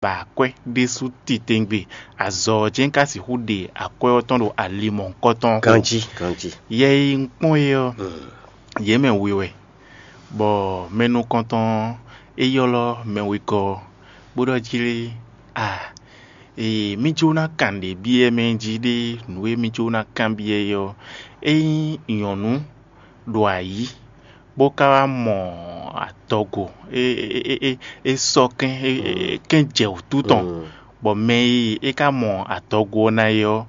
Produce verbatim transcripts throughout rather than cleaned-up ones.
ba akwɛ́ ɖésú titewungbe, azɔ̌ ɔ́ jɛ́n ka sixú ɖe akwɛ́ ɔ́ tɔn ɖo ali mɔ̌hunkɔtɔn ɔ́ xo. Ganjí, ganjí. Yɛ e un kpɔ́n é ɔ́, yě mɛ we wɛ, bɔ mɛ nukɔntɔn ɔ́, é ylɔ́ mɛ wegɔ́ ɔ́, bó ɖɔ jí lé, a ee mí jó ná kan nǔɖé byɔ́ mɛ jí ɖé, nǔ e mí jó ná kanbyɔ́ é ɔ́, ényí nyɔ̌nu ɖo ayǐ, bó ka wá mɔ adɔgo, é é é é é sɔ́ kɛ́n é é kɛ́n jɛ wǔtu tɔn, bɔ mɛ e é ka mɔ adɔgo ɔ́ ná é ɔ́,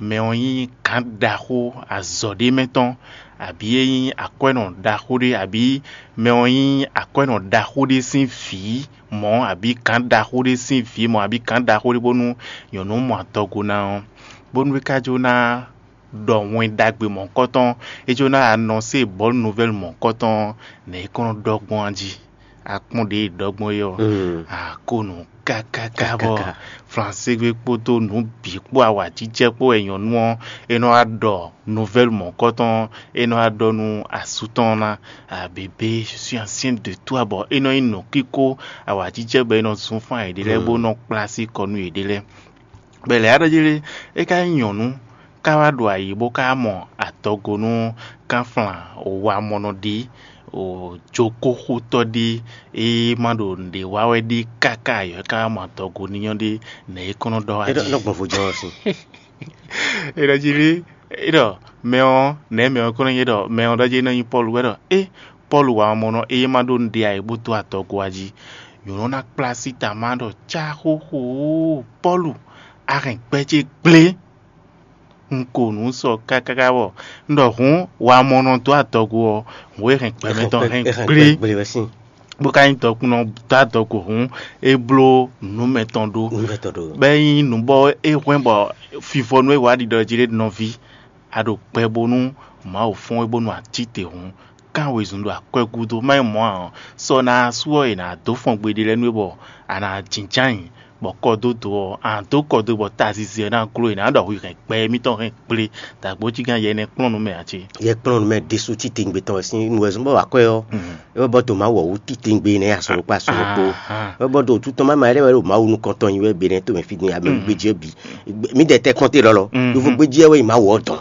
mɛ ɔ́ nyí gǎn ɖaxó azɔ̌ ɖé mɛ tɔn, abǐ é nyí akwɛ́nɔ ɖaxó ɖé, abǐ mɛ ɔ́ nyí akwɛ́nɔ ɖaxó ɖé sín vǐ mɔ̌, abǐ gǎn ɖaxó ɖé sín vǐ mɔ̌, abǐ gǎn ɖaxó ɖé bónú nyɔ̌nu mɔ adɔgo ná ɔ́, bónú é ka jó ná ɖɔ wɛn ɖagbe mɔ̌hunkɔtɔn, é jó ná anɔsé bɔ̌lu nuvɛ́lu mɔ̌hunkɔtɔn, nɛ̌ é kɔn nɔ ɖɔ gbɔn a jí? A kpɔ́n ɖě e ɖɔ gbɔn é ɔ́, a ko nǔ kákáká bɔ flanségbe kpódó nǔ bǐ kpó awǎjijɛ kpó wɛ nyɔ̌nu ɔ́ é nɔ wá ɖɔ nuvɛ́lu mɔ̌hunkɔtɔn, é nɔ wá ɖɔ nú asú tɔn ná, a bébé, je suis enceinte de toi, bɔ é nɔ nyí nǔkíkó awǎjijɛ bɔ é nɔ zun fán yěɖée lɛ́ɛ bó nɔ kplá sí kɔ nú yěɖée lɛ́ɛ. Bɔ è lɛ̌ ɖɔ jí lé, é ka nyí nyɔ̌nu ká wá ɖo ayǐ bó ka mɔ adɔgo nú kánflán wamɔnɔ ɖi, jokóxotɔ́ ɖi, é ma ɖo nǔɖé wa wɛ ɖi káká ayɔ é ka wá mɔ adɔgo ní nyɔ́ ɖi, nɛ̌ é kɔn nɔ ɖɔ wá jí? Nɔ gbɔn vo jɔ ɔ́ sín. É ɖɔ jí lé, é ɖɔ mɛ ɔ́, nɛ̌ mɛ ɔ́ kɔn nɔ nyí ɖɔ mɛ ɔ́ ɖɔ jí é nɔ nyí Pɔ́lu wɛ ɖɔ é Pɔ́lu wamɔnɔ é ma ɖó nǔɖé ayǐ bó dó adɔgo wá jí. Nyɔ̌nu ná kplá sí ta má ɖɔ cáxóxó, Pɔ́lu, a hɛn gbɛ ce gblé. Un ko nǔ sɔ kákáká bɔ un ɖɔ hǔn wamɔnɔ dó adɔgo ɔ́, hǔn e hɛn gbɛmɛ tɔn hɛn gblé, bó ka nyí dɔkunnɔ dó adɔgo hǔn, é bló nǔ mɛtɔn ɖó. Bɔ é nyí nǔ bɔ é hwɛ́n bɔ fifɔnu e wǎ ɖiɖɔ jí ɖé nɔví, a ɖo kpɛ bónú Mawu fɔ́n we bónú a cí te hǔn, kán wezun ɖo akwɛ́ gúdo, má nyí mɔ̌ ǎ ɔ́, sɔ ná sú ɔ́, è nǎ dó fɔn gbeɖé lɛ́ɛ nú we bɔ a nǎ jínjɔ́n ayǐ, bɔ kɔdódó ɔ́, a nǎ dó kɔdó bɔ tazizi ɔ́ ná gló, è nǎ ɖɔ hwi hɛn gbɛ émítɔn hɛn gblé, dǎgbójígán yɛ nɛ́ kplɔ́n nú mɛ ǎ cé? Yɛ kplɔ́n nú mɛ ɖésú titewungbe tɔn wɛ sín nú wɛ zɔ́n bɔ wǎ kwɛ́ ɔ́, é wɛ bɔ dǒ má wɔ wú titewungbe nɛ́ azɔn ɖokpó azɔn ɖokpó. É wɛ bɔ ɖo wútu tɔn má ma ɖé wɛ ɖo Mawu nukɔn tɔn nyi wɛ be nɛ́ to mɛ fí din amɛ gbéjé bǐ. Mí ɖɛ tɛ kɔnte lɔlɔ. Yovo gbéjé wɛ yi má wɔ dɔn.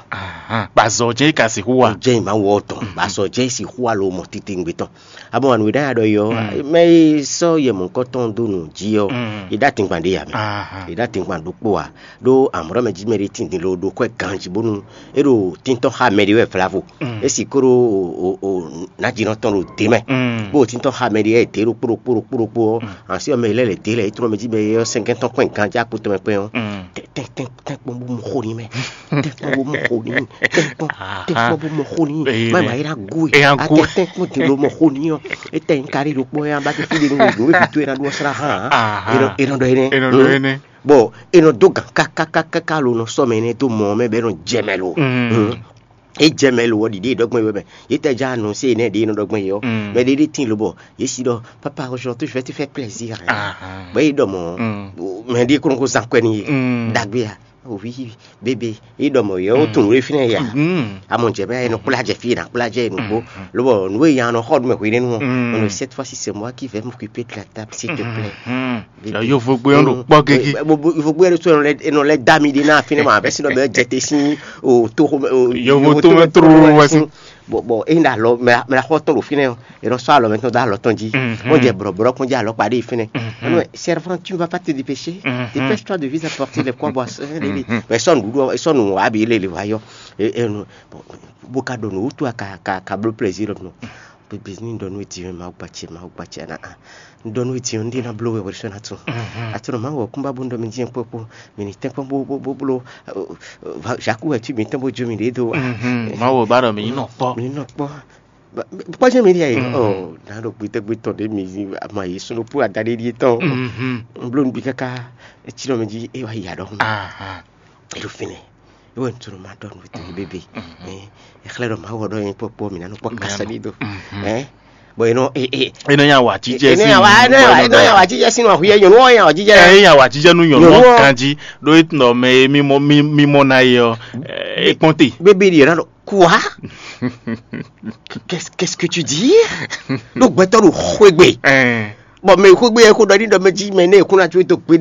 Ba zɔ jɛ ka sixú wa. Jɛ yi má wɔ dɔn. Ba zɔ jɛ sixú wa lo mɔ titewungbe tɔn. Abɔ anu ɖa ɖɔ yɔ, mɛ yi sɔ yɛ mɔkɔtɔn do nù jí ɔ, yi ɖa tingban ɖe ya mɛ. Yi ɖa tingban ɖokpo wa. Ɖo amrɔ mɛ jí mɛ ɖe tindin lo ɖo kwɛ ganji bónú e ɖo tintɔn xa mɛ ɖe wɛ vlavo. Esi kó ɖo o o o najinɔ tɔn ɖo de mɛ. Bó tintɔn xa mɛ ɖe wɛ de ɖo kpóɖo kpóɖo kpóɖo kpó ɔ, ansi ɔmɛ lɛ lɛ de lɛ etrɔ mɛ jí mɛ yɔ sɛnkɛn tɔn kpɛn ganji akpo tɔn mɛ kpɛn ɔ. Tɛn tɛn tɛn tɛn kpɔn bó mɔ xo ni mɛ. Tɛn kpɔn bó mɔ xo ni. Tɛn kpɔn tɛn kpɔn bó mɔ xo ni. Mɛ ma yi ɖa gu e. Atɛ tɛn kpɔn din lo mɔ xo ni ɔ. Etɛ nyi kari ɖo kpɔ ya ba ke fi de nu wo do e bi to e na ɖo sra hã. Enɔ enɔ ɖɔ enɛ. Bɔn e nɔ dó gǎn kákákáká lo nɔ sɔ mɛ nɛ dó mɔ mɛ bɛ nɔ jɛ mɛ lo. E jɛ mɛ lo wɔ ɖiɖi ɖɔgbɔn yɔ mɛ. Ye tɛ ja nu se nɛ ɖe nɔ ɖɔgbɔn yɔ. Mɛ ɖe ɖe tin lo bɔ ye si ɖɔ papa aujourd'hui je vais te faire plaisir. Bɛ yi ɖɔ mɔ mɛ ɖe kɔnɔ ko zan kɔɛ ni ye. Dagbe ya, ovi bebe yi ɖɔ mɔ yɔ o tun lo fi nɛ ya. Amɔ jɛ mɛ e nɔ kpla jɛ fi na kpla jɛ nugbo. Lobɔ nu e yan nɔ xɔ ɖu mɛ hwe nɛ nu ɔ. Cette fois ci c'est moi qui vais m'occuper de la table, s'il te plaît. Yovogbe ɔn ɖo kpɔ gege. Yovogbe yɛn ɖo sɔ enɔ lɛ da mi ɖe na fínɛ ma bɛ sinɔ bɛ jɛ te sin o to xo. Yovo to mɛ tro wɛ sin. Bɔn bɔn e na alɔ mɛ mɛ xɔ tɔn ɖo fínɛ o, e nɔ sɔ alɔ mɛ tɔn do alɔ tɔn ji. Wọn jɛ brɔbrɔ kɔn jɛ alɔ kpa ɖe fínɛ. Ɔnɔ servant, tu ne vas pas te dépêcher. Dépêche-toi de vite apporter les pois bois. Mɛ sɔ nuɖuɖu sɔ nu abi lele va yɔ. Bó ka ɖo nǔ wútu ka ka ka bló plaisir nɔ. Bebes ní ɖɔ nú etí Mawu gbacɛ Mawu gbacɛ na a. Ɖɔ nú etí ɔ́ ndé ná bló wɛ wɛrɛ sɔ́ ná tún. Atsɔ́nɔ Mawu ɔ́ kún bá bó ɖɔ mi dín kpɔ́ kpó. Mi ní tɛ́nkpɔ́n bó bó bó bló. Jaku wɛ tí mi tɛ́n bó jó mi ɖě dó. Mawu ba ɖɔ mi nyí nɔ kpɔ́. Mi nɔ kpɔ́. Kpɔ́ jẹ́ mi ɖi ayé ɔ. Ná ɖo gbitɛgbitɔ ɖé mi ma yé sunu kpó adaɖé ɖíe tɔn. N bló nugbe káká etí nɔ mi jí é wá yi aɖɔhún. Eɖo fínɛ. Ewɔ ntunu ma ɖɔ nú tɔn bébé. Ɛ xlɛ ɖɔ ma wɔ ɖɔ yẹn kpɔkpɔ mi nanu kpɔ kasa ɖi do. Ɛ bɔn yen nɔ e e. Enɔ nya wa jijɛ si. Enɔ nya wa enɔ nya wa jijɛ si nɔ ahu yɛ nyɔnu wɔ nya wa jijɛ. Ɛ nya wa jijɛ nu nyɔnu wɔ kanji ɖo e tun mɛ mi mɔ mi mi mɔ na ye ɔ. E kpɔn te. Bébé de yɛrɛ lɔ kua. Qu'est-ce que tu dis? Ɖo gbɛtɔ ɖo xwegbe. Bɔ mɛ xwé gbé yɛ xó ɖɔ ní ɖɔ mɛ jí mɛ ní èkún ná có tó gbé